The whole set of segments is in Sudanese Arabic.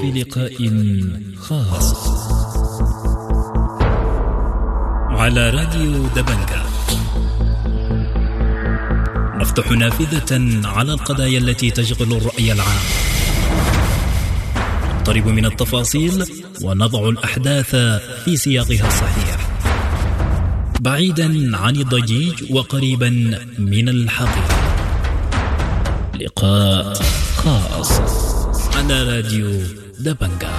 في لقاء خاص على راديو دبنجا، نفتح نافذة على القضايا التي تشغل الرأي العام، نقترب من التفاصيل ونضع الأحداث في سياقها الصحيح، بعيدا عن الضجيج وقريبا من الحقيقة. لقاء خاص على راديو دبنجا.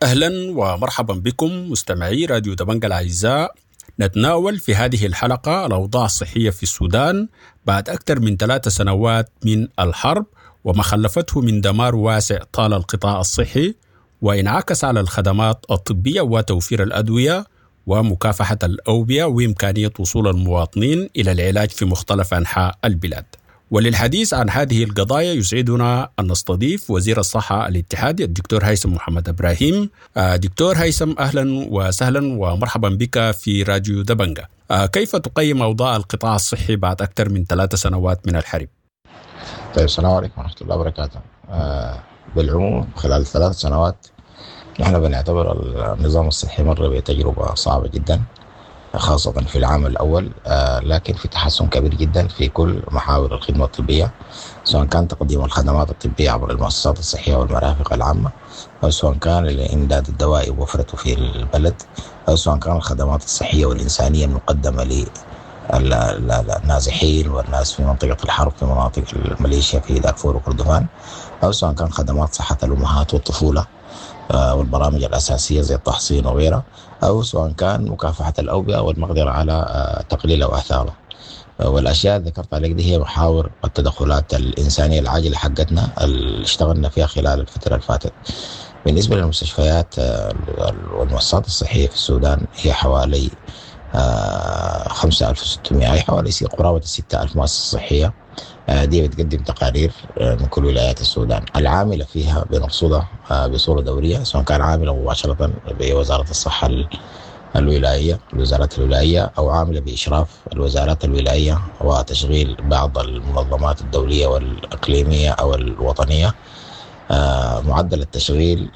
أهلا ومرحبا بكم مستمعي راديو دبنجا الأعزاء. نتناول في هذه الحلقة الأوضاع الصحية في السودان بعد أكثر من 3 سنوات من الحرب وما خلفته من دمار واسع طال القطاع الصحي وانعكس على الخدمات الطبية وتوفير الأدوية ومكافحة الأوبئة وإمكانية وصول المواطنين إلى العلاج في مختلف أنحاء البلاد. وللحديث عن هذه القضايا يسعدنا أن نستضيف وزير الصحة الاتحادي الدكتور هيثم محمد إبراهيم. دكتور هيثم، أهلا وسهلا ومرحبا بك في راديو دبنجا. كيف تقيم أوضاع القطاع الصحي بعد أكثر من 3 سنوات من الحرب؟ طيب، السلام عليكم ورحمة الله وبركاته. بالعموم خلال 3 سنوات نحن بنعتبر النظام الصحي مر بتجربة صعبة جدا، خاصة في العام الأول، لكن في تحسن كبير جدا في كل محاور الخدمة الطبية، سواء كان تقديم الخدمات الطبية عبر المؤسسات الصحية والمرافق العامة، أو سواء كان الإمداد الدوائي ووفرته في البلد، أو سواء كان الخدمات الصحية والإنسانية المقدمة للنازحين والناس في منطقة الحرب في مناطق الميليشيا في دارفور وكردفان، أو سواء كان خدمات صحة الأمهات والطفولة والبرامج الأساسية زي التحصين وغيرها، أو سواء كان مكافحة الأوبئة والمقدرة على تقليل أو آثارها. والأشياء اللي ذكرت عليك دي هي محاور التدخلات الإنسانية العاجلة حقتنا اللي اشتغلنا فيها خلال الفترة اللي فاتت. بالنسبة للمستشفيات والمؤسسات الصحية في السودان هي حوالي 5600، أي حوالي قرابة 6000 مؤسسة صحية. دي بتقدم تقارير من كل ولايات السودان العاملة فيها بنرصدها بصورة دورية، سواء كان عاملة مباشرة بوزارة الصحة الولاية، الوزارات الولاية، أو عاملة بإشراف الوزارات الولاية وتشغيل بعض المنظمات الدولية والإقليمية أو الوطنية. معدل التشغيل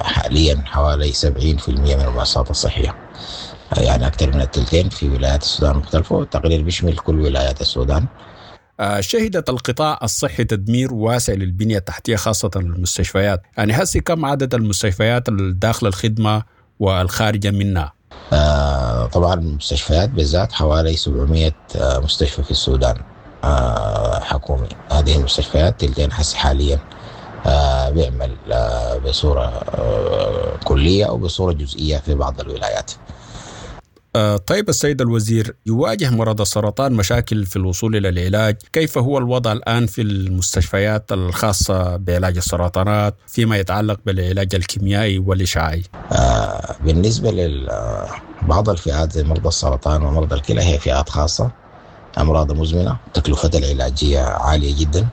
حاليا حوالي 70% من المؤسسات الصحية، يعني أكثر من الثلثين في ولايات السودان المختلفة، والتقرير بيشمل كل ولايات السودان. شهدت القطاع الصحي تدمير واسع للبنية التحتية خاصة المستشفيات، يعني هسي كم عدد المستشفيات الداخل الخدمة والخارجة منها؟ طبعا المستشفيات بالذات حوالي 700 مستشفى في السودان حكومي. هذه المستشفيات تلتين حس حاليا بيعمل بصورة كلية أو بصورة جزئية في بعض الولايات. طيب السيد الوزير، يواجه مرضى السرطان مشاكل في الوصول إلى العلاج، كيف هو الوضع الآن في المستشفيات الخاصة بعلاج السرطانات فيما يتعلق بالعلاج الكيميائي والإشعاعي؟ بالنسبة لبعض الفئات زي مرضى السرطان ومرضى الكلى هي فئات خاصة، أمراض مزمنة، تكلفتها العلاجية عالية جدا.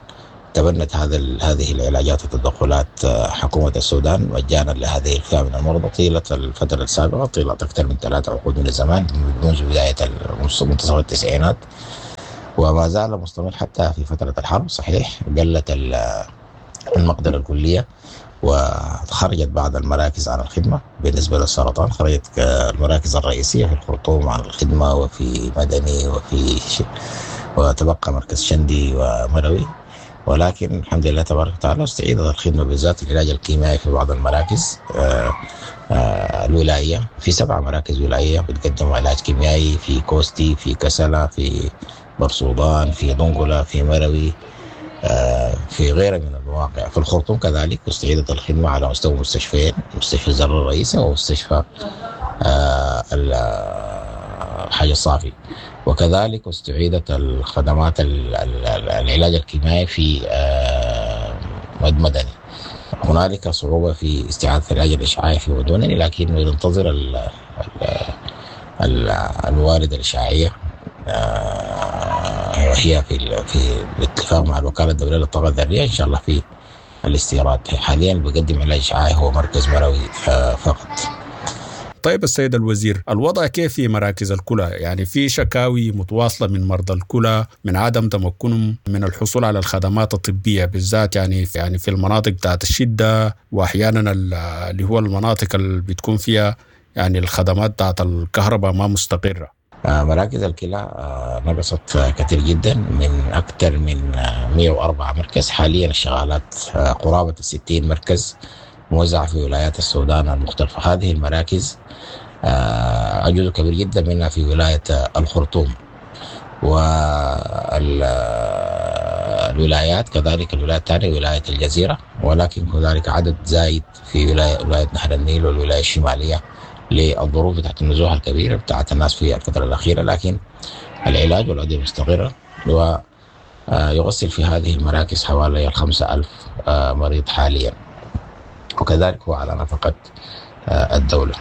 تبنت هذه العلاجات والتدخلات حكومة السودان مجانا لهذه الفئة من المرضى طيلة الفترة السابقة، طيلة أكثر من 3 عقود من الزمان منذ بداية منتصف التسعينات، وما زال مستمر حتى في فترة الحرب. صحيح قلت المقدرة الكلية وخرجت بعض المراكز عن الخدمة. بالنسبة للسرطان خرجت المراكز الرئيسية في الخرطوم عن الخدمة، وفي مدني، وتبقى مركز شندي ومروي، ولكن الحمد لله تبارك وتعالى استعيدت الخدمة بالذات العلاج الكيميائي في بعض المراكز الولاية. في 7 مراكز ولاية بتقدم علاج كيميائي، في كوستي، في كسلة، في برسودان، في دنقلة، في مروي، في غيرها من المواقع. في الخرطوم كذلك استعيدت الخدمة على مستوى مستشفيين، مستشفى الزر الرئيسي ومستشفى الحاج الصافي، وكذلك استعيدت الخدمات العلاج الكيميائي في مدني. هنالك صعوبة في استعادة العلاج الإشعاعي في مدني، لكن ننتظر الوارد الإشعاعية، وهي في الاتفاق مع الوكالة الدولية للطاقة الذرية إن شاء الله في الاستيراد. حاليا بقدم علاج إشعاعي هو مركز مروي فقط. طيب السيد الوزير، الوضع كيف في مراكز الكلى؟ يعني في شكاوي متواصلة من مرضى الكلى من عدم تمكنهم من الحصول على الخدمات الطبية، بالذات يعني في المناطق بتاعت الشدة، وأحيانا اللي هو المناطق اللي بتكون فيها يعني الخدمات بتاعت الكهرباء ما مستقرة. مراكز الكلى نقصت كثير جدا، من أكثر من 104 مركز. حاليا الشغالات قرابة 60 مركز موزعة في ولايات السودان المختلفة. هذه المراكز جزء كبير جدا منها في ولاية الخرطوم والولايات، كذلك الولاية الثانية ولاية الجزيرة، ولكن هنالك عدد زايد في ولاية نهر النيل والولاية الشمالية للظروف بتاعت النزوح الكبيرة بتاعت الناس في الفترة الأخيرة. لكن العلاج والأدوية مستقرة، ويغسل في هذه المراكز حوالي 5000 مريض حاليا، وكذلك هو على نفقة الدولة.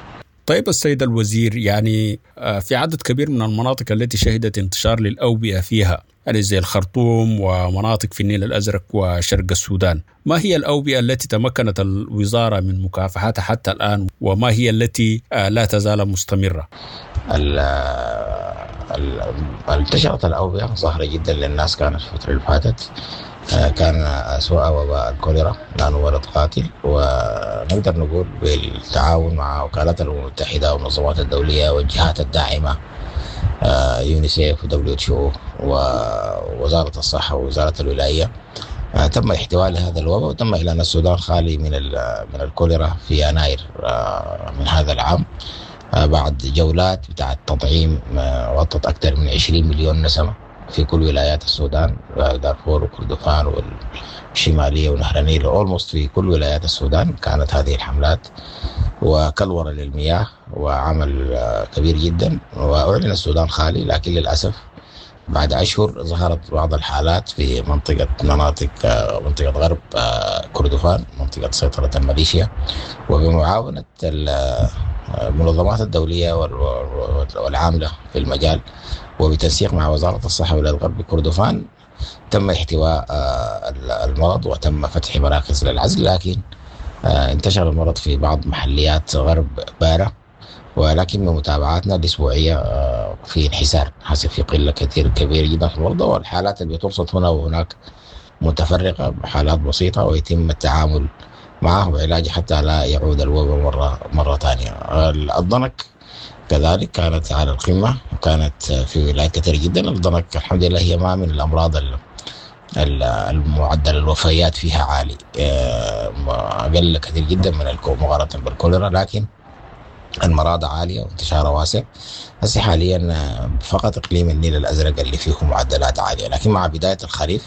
طيب السيد الوزير، يعني في عدد كبير من المناطق التي شهدت انتشار للأوبئة فيها، يعني زي الخرطوم ومناطق في النيل الأزرق وشرق السودان، ما هي الأوبئة التي تمكنت الوزارة من مكافحتها حتى الآن، وما هي التي لا تزال مستمرة؟ انتشرت الأوبئة ظاهرة جدا للناس كانت في الفترة اللي فاتت، كان أسوأ وباء الكوليرا لأنه مرض قاتل، ونقدر نقول بالتعاون مع وكالات الأمم المتحدة والمنظمات الدولية والجهات الداعمة، يونيسيف ودبليو اتش او ووزارة الصحة ووزارة الولاية، تم احتواء لهذا الوباء، وتم إعلان السودان خالي من الكوليرا في يناير من هذا العام، بعد جولات بتاعت تطعيم غطت أكثر من 20 مليون نسمة في كل ولايات السودان، دارفور وكردفان والشمالية ونهر النيل، almost في كل ولايات السودان كانت هذه الحملات، وكلورة للمياه وعمل كبير جدا، وأعلن السودان خالي. لكن للأسف بعد أشهر ظهرت بعض الحالات في مناطق منطقة غرب كردفان، منطقة سيطرة الميليشيا، وبمعاونة المنظمات الدولية والعاملة في المجال وبتنسيق مع وزارة الصحة ولاية غرب كردفان تم احتواء المرض وتم فتح مراكز للعزل. لكن انتشر المرض في بعض محليات غرب بارة، ولكن بمتابعاتنا الأسبوعية في انحسار، حسب في قلة كثير كبيرة جدا في المرضى، والحالات اللي بترصد هنا وهناك متفرقة، حالات بسيطة ويتم التعامل معه وعلاجه حتى لا يعود الوباء مرة ثانية. الضنك كذلك كانت على القمة، وكانت في ولايات كثيرة جدا. الضنك الحمد لله هي ما من الأمراض المعدل الوفيات فيها عالي، أقل كثير جدا من مقارنة بالكوليرا، لكن المرض عالية وانتشارها واسع. هسه حاليا فقط إقليم النيل الأزرق اللي فيه معدلات عالية، لكن مع بداية الخريف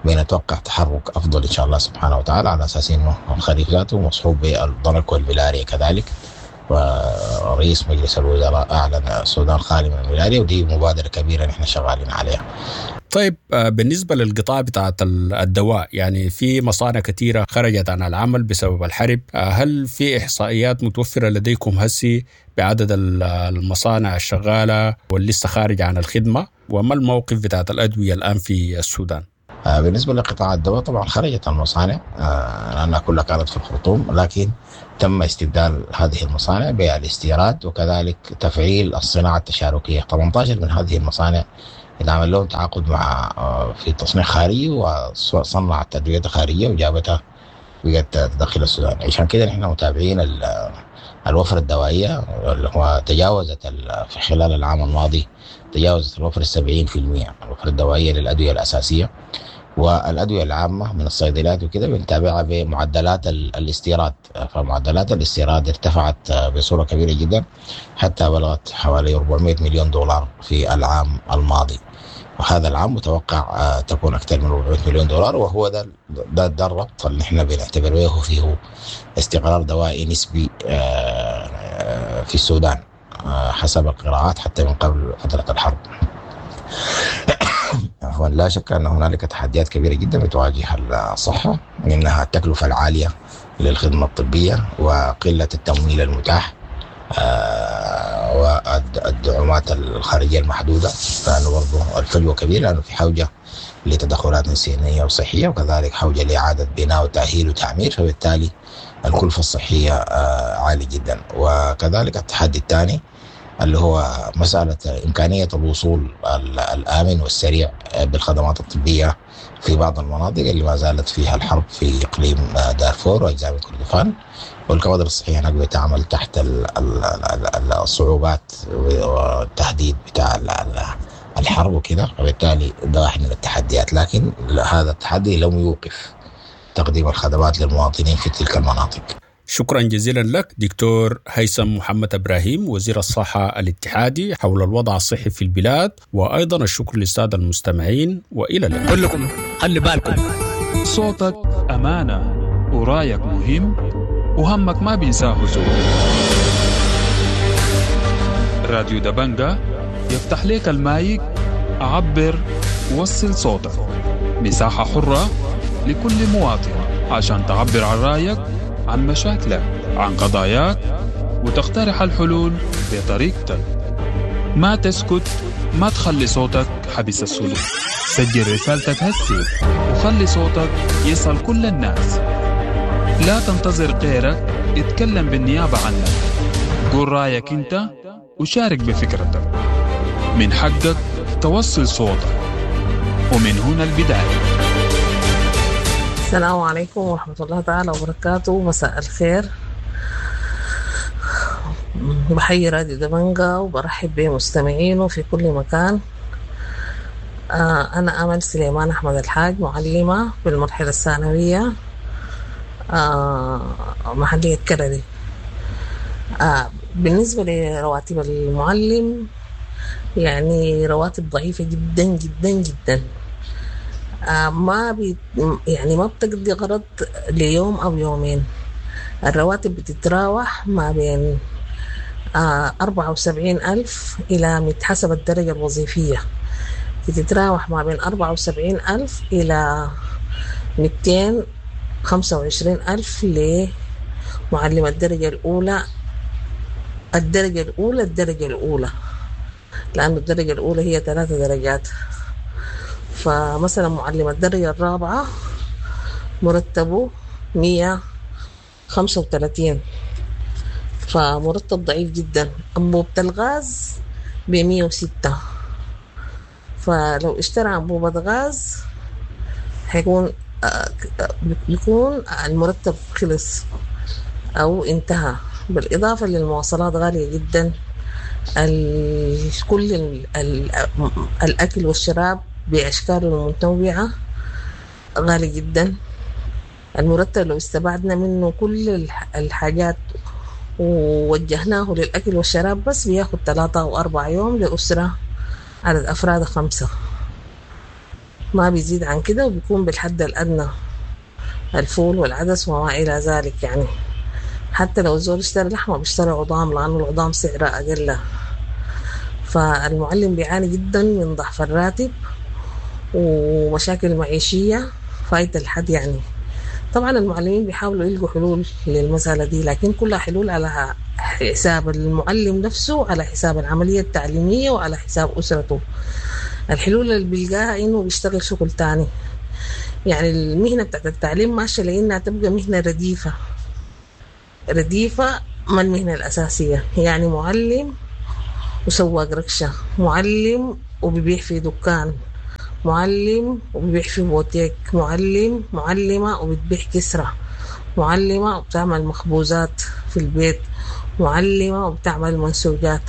بنتوقع تحرك أفضل إن شاء الله سبحانه وتعالى، على أساس إنه الخريف ذاته مصحوب بالضنك والملاريا كذلك. ورئيس مجلس الوزراء أعلن السودان خالي من الملاريا، ودي مبادرة كبيرة نحن شغالين عليها. طيب بالنسبة للقطاع بتاعت الدواء، يعني في مصانع كثيرة خرجت عن العمل بسبب الحرب، هل في إحصائيات متوفرة لديكم هسي بعدد المصانع الشغالة واللي لسه خارجة عن الخدمة، وما الموقف بتاعت الأدوية الآن في السودان؟ بالنسبة لقطاع الدواء طبعا خرجت المصانع لأنها كلها كانت في الخرطوم، لكن تم استبدال هذه المصانع بالاستيراد وكذلك تفعيل الصناعة التشاركية. 18 من هذه المصانع اتعمل لهم تعاقد مع في تصنيع خارجي، وصنعت أدوية خارجية وجابتها بقت تدخل السودان. عشان كده نحن متابعين الوفرة الدوائية اللي هو تجاوزت في خلال العام الماضي تجاوزت الوفرة 70%، الوفرة الدوائية للأدوية الأساسية والأدوية العامة من الصيدليات وكده بنتابعها بمعدلات الاستيراد. فمعدلات الاستيراد ارتفعت بصورة كبيرة جدا حتى بلغت حوالي 400 مليون دولار في العام الماضي، وهذا العام متوقع تكون أكثر من 400 مليون دولار، وهو ده الربط اللي احنا بنعتبر به فيه استقرار دوائي نسبي في السودان حسب القراءات حتى من قبل فترة الحرب. عفوا، لا شك أن هنالك تحديات كبيرة جدا بتواجه الصحة، منها التكلفة العالية للخدمة الطبية وقلة التمويل المتاح والدعومات الخارجية المحدودة، لأنه برضه الفجوة كبيرة، لأنه في حوجة لتدخلات إنسانية وصحية، وكذلك حوجة لإعادة بناء وتأهيل وتعمير، فبالتالي الكلفة الصحية عالية جدا. وكذلك التحدي الثاني اللي هو مسألة إمكانية الوصول الآمن والسريع بالخدمات الطبية في بعض المناطق اللي ما زالت فيها الحرب في إقليم دارفور وأجزاء من كردفان، والكوادر الصحية هناك بتعمل تحت الصعوبات والتهديد بتاع الحرب وكده، وبالتالي ده واحد من التحديات. لكن هذا التحدي لم يوقف تقديم الخدمات للمواطنين في تلك المناطق. شكرا جزيلا لك دكتور هيثم محمد ابراهيم، وزير الصحة الاتحادي، حول الوضع الصحي في البلاد، وايضا الشكر للسادة المستمعين، والى اللقاء. كلكم خلي بالكم. صوتك أمانة، ورايك مهم، وهمك ما بينساه زول. راديو دبنجة يفتح لك المايك، عبر، وصل صوتك. مساحة حرة لكل مواطن عشان تعبر عن رأيك، عن مشاكلك، عن قضاياك، وتقترح الحلول بطريقتك. ما تسكت، ما تخلي صوتك حبس السلوك. سجل رسالتك هسي وخلي صوتك يصل كل الناس. لا تنتظر غيرك يتكلم بالنيابة عنك. قول رأيك انت وشارك بفكرتك. من حقك توصل صوتك، ومن هنا البداية. السلام عليكم ورحمة الله تعالى وبركاته. مساء الخير. بحيي راديو دبنجة وبرحب بمستمعينه في كل مكان. أنا أمل سليمان أحمد الحاج، معلمة بالمرحلة الثانوية، محلية كردي. بالنسبة لرواتب المعلم، يعني رواتب ضعيفة جدا جدا جدا، ما بي يعني ما بتقضي غرض ليوم أو يومين. الرواتب بتتراوح ما بين 74,000 إلى، حسب الدرجة الوظيفية، بتتراوح ما بين 74,000 إلى 225,000 لمعلم الدرجة الأولى. الدرجة الأولى، الدرجة الأولى، لأن الدرجة الأولى هي 3 درجات. فمثلا معلم الدرجة الرابعة مرتبه 135، فمرتب ضعيف جدا. أنبوبة الغاز ب106، فلو اشترى أنبوبة غاز حيكون بيكون المرتب خلص أو انتهى. بالإضافة للمواصلات غالية جدا، كل الأكل والشراب بأشكاله المتنوعة غالي جدا. المرتب لو استبعدنا منه كل الحاجات ووجهناه للأكل والشراب بس، بياخد 3 أو 4 يوم لأسرة عدد أفراد 5، ما بيزيد عن كده، وبيكون بالحد الأدنى الفول والعدس وما إلى ذلك. يعني حتى لو الزول اشترى لحمة بيشتري عظام، لأنه العظام سعرها أقل. فالمعلم بيعاني جدا من ضعف الراتب ومشاكل معيشية فايتة الحد. يعني طبعا المعلمين بيحاولوا يلقوا حلول للمسألة دي، لكن كلها حلول على حساب المعلم نفسه، على حساب العملية التعليمية، وعلى حساب أسرته. الحلول اللي بيلقاها إنه بيشتغل شغل تاني. يعني المهنة بتاعت التعليم ماشية لأنها تبقى مهنة رديفة، رديفة ما المهنة الأساسية. يعني معلم وسواق ركشة، معلم وبيبيع في دكان، معلم وبيبيع في بوتيك، معلم معلمة وبتبيع كسرة، معلمة وبتعمل مخبوزات في البيت، معلمة وبتعمل منسوجات.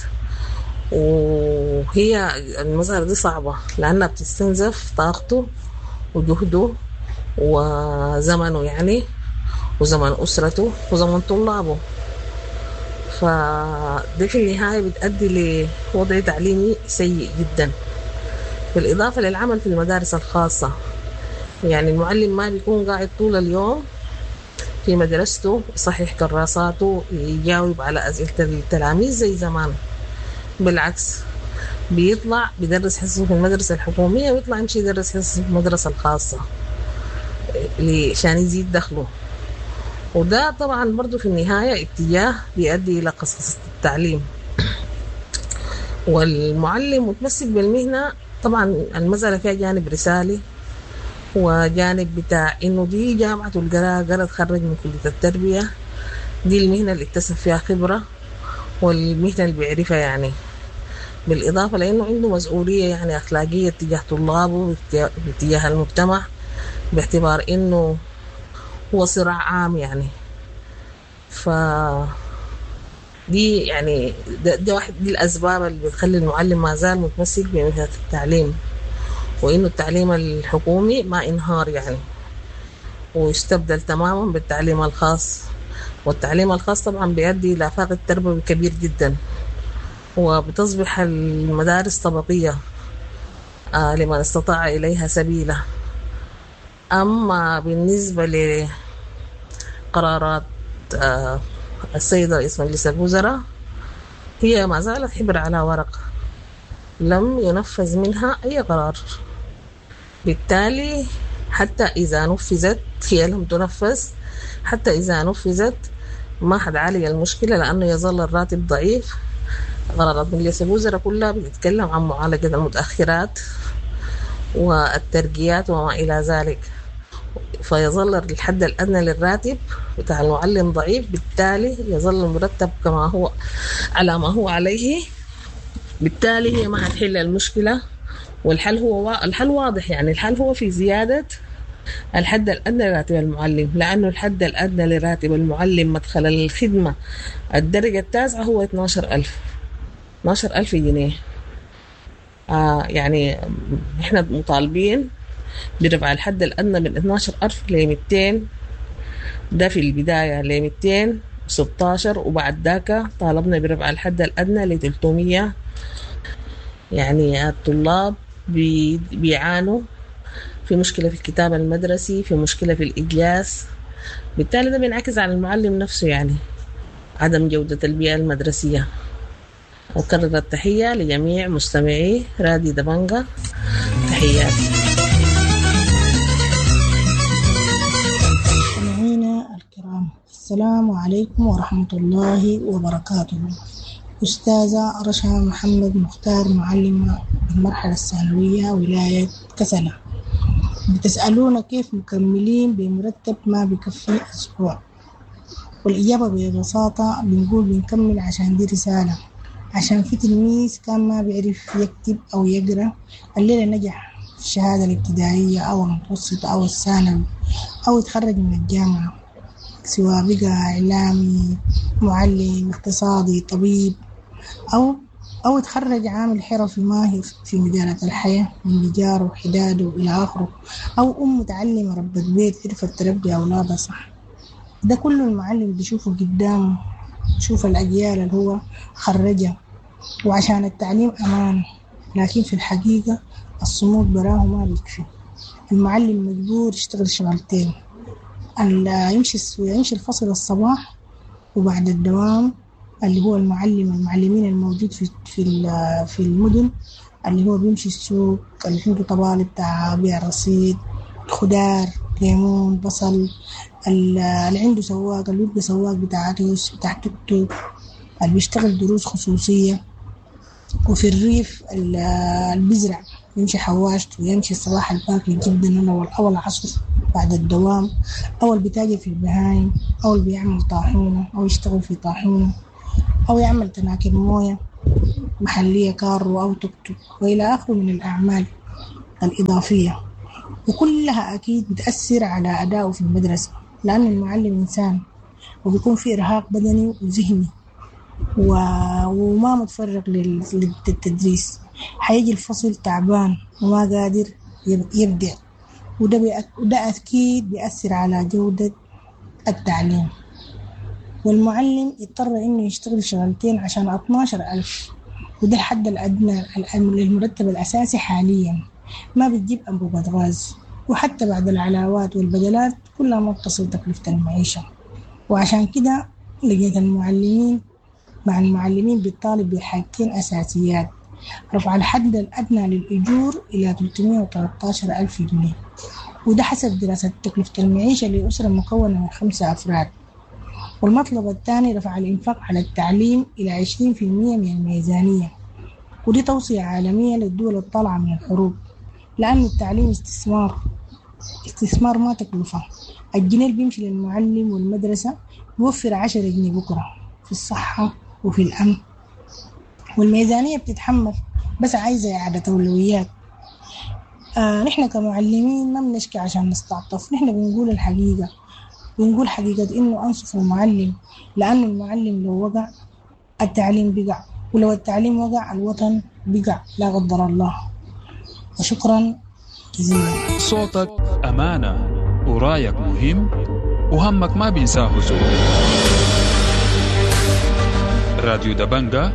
وهي المسألة دي صعبة لأنها بتستنزف طاقته وجهده وزمنه، يعني وزمن أسرته وزمن طلابه. فده في النهاية بتؤدي لوضع تعليمي سيء جدا. بالإضافة للعمل في المدارس الخاصة، يعني المعلم ما بيكون قاعد طول اليوم في مدرسته يصحح كراساته، يجاوب على أسئلة التلاميذ زي زمان. بالعكس بيطلع بيدرس حصصه في المدرسة الحكومية، ويطلع يمشي يدرس حصصه في المدرسة الخاصة عشان يزيد دخله. وده طبعا برضو في النهاية اتجاه بيؤدي إلى قصص التعليم. والمعلم متمسك بالمهنة، طبعا المسألة فيها جانب رسالي وجانب بتاع إنه دي جامعة القراءة، قرا تخرج من كلية التربية، دي المهنة اللي اكتسب فيها خبرة والمهنة اللي بيعرفها يعني. بالإضافة لأنه عنده مسؤولية يعني أخلاقية تجاه طلابه، تجاه المجتمع، باعتبار إنه هو صراع عام يعني. ف دي يعني ده واحد دي الأسباب اللي بتخلي المعلم ما زال متمسك بمهنة التعليم، وإنه التعليم الحكومي ما انهار يعني ويستبدل تماما بالتعليم الخاص. والتعليم الخاص طبعا بيؤدي إلى فاقد تربوي كبير جدا، وبتصبح المدارس طبقية لمن استطاع إليها سبيلا. أما بالنسبة لقرارات السيد رئيس مجلس الوزراء، هي ما زالت حبر على ورق، لم ينفذ منها أي قرار. بالتالي حتى إذا نفذت، هي لم تنفذ، حتى إذا نفذت ما حتعالج المشكلة، لأنه يظل الراتب ضعيف. قرارات مجلس الوزراء كلها بتتكلم عن معالجة المتأخرات والترقيات وما إلى ذلك، فيظل الحد الأدنى للراتب بتاع المعلم ضعيف، بالتالي يظل المرتب كما هو على ما هو عليه. بالتالي هي ما هتحل المشكلة، والحل هو الحل واضح يعني. الحل هو في زيادة الحد الأدنى لراتب المعلم، لأنه الحد الأدنى لراتب المعلم مدخل الخدمة الدرجة التاسعة هو 12,000 جنيه. يعني إحنا مطالبين برفع الحد الأدنى من 12,000 ل 200، ده في البداية ل 216، وبعد ذاك طالبنا برفع الحد الأدنى ل 300. يعني الطلاب بيعانوا في مشكلة في الكتاب المدرسي، في مشكلة في الإجلاس، بالتالي ده بينعكس على المعلم نفسه يعني عدم جودة البيئة المدرسية. أكرر التحية لجميع مستمعي راديو دبنجة، تحياتي. مستمعينا الكرام، السلام عليكم ورحمة الله وبركاته. أستاذة رشا محمد مختار، معلمة بالمرحلة الثانوية ولاية كسلة. بتسألونا كيف مكملين بمرتب ما بكفي أسبوع؟ والإجابة ببساطة بنقول بنكمل عشان دي رسالة، عشان في تلميذ كان ما بيعرف يكتب أو يقرأ الليلة نجح في الشهادة الابتدائية أو المتوسطة أو الثانوي أو يتخرج من الجامعة، سواء بقى إعلامي، معلم، اقتصادي، طبيب، أو يتخرج عامل حرفي ماهر في مجالات الحياة من نجاره وحداده إلى آخره، أو أم متعلمة ربة بيت عرفت تربي أولادها صح. ده كله المعلم بيشوفه قدامه، شوف الأجيال اللي هو خرجها. وعشان التعليم أمان، لكن في الحقيقة الصمود براه ما بيكفي. المعلم مجبور يشتغل شغلتين، يمشي الفصل الصباح وبعد الدوام اللي هو المعلمين الموجود في المدن، اللي هو بيمشي السوق، اللي عنده طبالي بتاع بيع رصيد، خضار، ليمون، بصل، اللي عنده سواق، اللي بيبقى سواق بتاع ريس، بتاع توك توك، اللي بيشتغل دروس خصوصية. وفي الريف اللي بيزرع يمشي حواشته ويمشي الصباح الباكر جدا أو العصر بعد الدوام، أو اللي بيتاجر في البهايم، أو اللي بيعمل طاحونة أو يشتغل في طاحونة، أو يعمل تناكر موية محلية كارو أو توك توك وإلى آخره من الأعمال الإضافية. وكلها أكيد بتأثر على أدائه في المدرسة، لأن المعلم إنسان وبيكون في إرهاق بدني وذهني وما متفرغ للتدريس. حيجي الفصل تعبان وما قادر يبدع، وده أكيد بيأثر على جودة التعليم. والمعلم يضطر إنه يشتغل شغلتين عشان 12,000، وده الحد الأدنى للمرتب الأساسي حاليا، ما بتجيب أنبوبة غاز، وحتى بعد العلاوات والبدلات كلها ما بتصل تكلفة المعيشة. وعشان كده لقيت المعلمين مع المعلمين بتطالب بحاجتين أساسيات: رفع الحد الأدنى للأجور إلى 313,000 جنيه، وده حسب دراسة تكلفة المعيشة لأسرة مكونة من 5 أفراد. والمطلب الثاني رفع الإنفاق على التعليم إلى 20% من الميزانية، ودي توصية عالمية للدول الطالعة من الحروب، لأن التعليم استثمار ما تكلفة. الجنيه اللي بيمشي للمعلم والمدرسة يوفر 10 جنيه بكرة في الصحة وفي الأمن. والميزانية بتتحمل، بس عايزة إعادة أولويات. نحن كمعلمين ما بنشكي عشان نستعطف، نحن بنقول الحقيقة، بنقول حقيقة إنه أنصف المعلم، لأنه المعلم لو وقع التعليم بقع، ولو التعليم وقع الوطن بقع لا قدر الله. وشكرا جزيلا. صوتك أمانة ورايك مهم وهمك ما بينساه زول. راديو دبنجة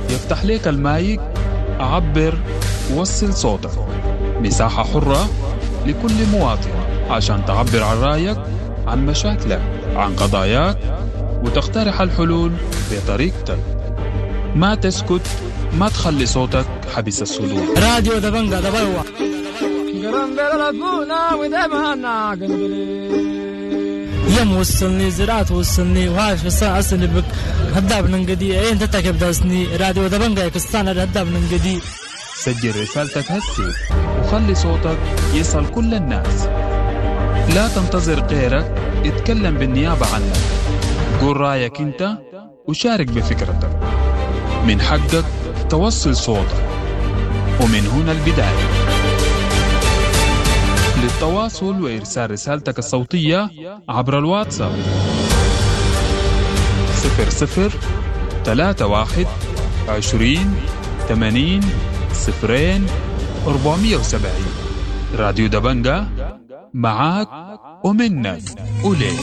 يفتح لك المايك، عبر، وصل صوتك. مساحة حرة لكل مواطن عشان تعبر عن رأيك، عن مشاكلك، عن قضاياك، وتقترح الحلول بطريقتك. ما تسكت، ما تخلي صوتك حبس الصدور. راديو دبنجة دبلوة. يم وصلني زراعة وصلني وهاش بس أصلي بك هداب ننقدي أين تتكب داسني راديو دبنجة كستانا هداب ننقدي. سجل رسالتك هسي وخلي صوتك يصل كل الناس. لا تنتظر غيرك يتكلم بالنيابة عنك. قول رأيك انت وشارك بفكرتك. من حقك توصل صوتك، ومن هنا البداية. للتواصل وإرسال رسالتك الصوتية عبر الواتساب 00 31 20 80 0 470. راديو دبنجة معاك ومنك وليك.